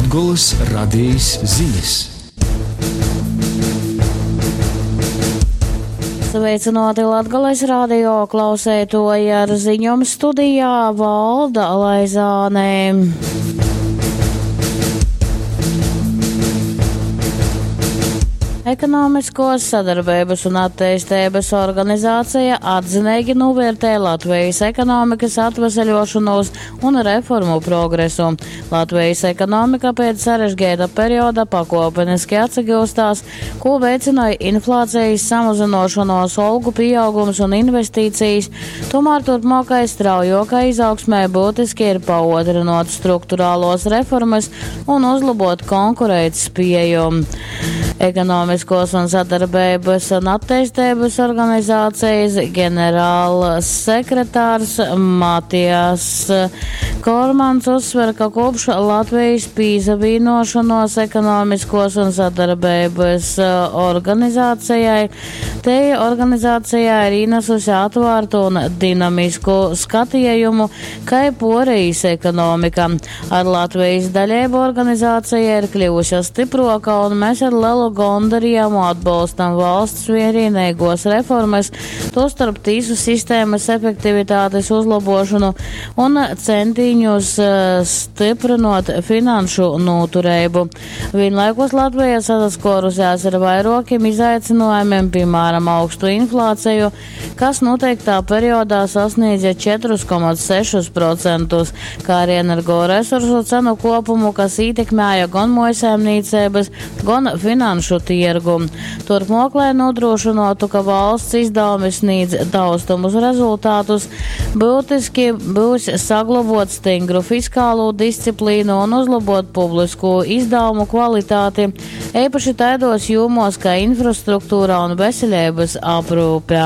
Latgolys Radejis zinis. Sveicināti Latgales radio klauseitoji ar ziņom studijā Valda Laizāne. Ekonomiskos sadarbeibas un atteisteibas organizācija atzineigi novērtē Latvijas ekonomikas atveseļošanos un reformu progresu. Latvijas ekonomika pēc sarežģīta perioda pakopeniski atsagūstās, ko veicināja inflācijas samazinošanos, algu pieaugums un investīcijas. Tomēr turpmākai straujokai izaugsmē būtiski ir paotrinot strukturālos reformas un uzlabot konkurētspēju. Ekonomiskos un sadarbības un attīstības organizācijas ģenerāla sekretārs Matijas Kormans uzsver, ka kopš Latvijas pīzavīnošanos ekonomiskos un sadarbības organizācijai, te organizācijā ir ienesusi atvērtu un dinamisku skatījumu, kai porijas ekonomika. Ar Latvijas daļēbu organizācija ir kļuvusi stiproka, un mēs ar lielu gondarījumu atbalstam valsts vienīgos reformas, tostarp tīsu sistēmas efektivitātes uzlabošanu un centīņus stiprinot finanšu noturību. Vienlaikus Latvija sasaskorusies ar vairākiem izaicinājumiem, piemēram, augstu inflāciju, kas noteiktā periodā sasniedza 4,6%, kā arī energoresursu cenu kopumu, kas ietekmēja gan mojsaimniecības, gan finanšu tirgu. Turpmāk, lai nodrošinātu, ka valsts izdevumi sniedz taustamus rezultātus, būtiski būs saglabot stingru fiskālo disciplīnu un uzlabot publisko izdevumu kvalitāti, īpaši taidos jomos kā infrastruktūra un veselības aprūpe.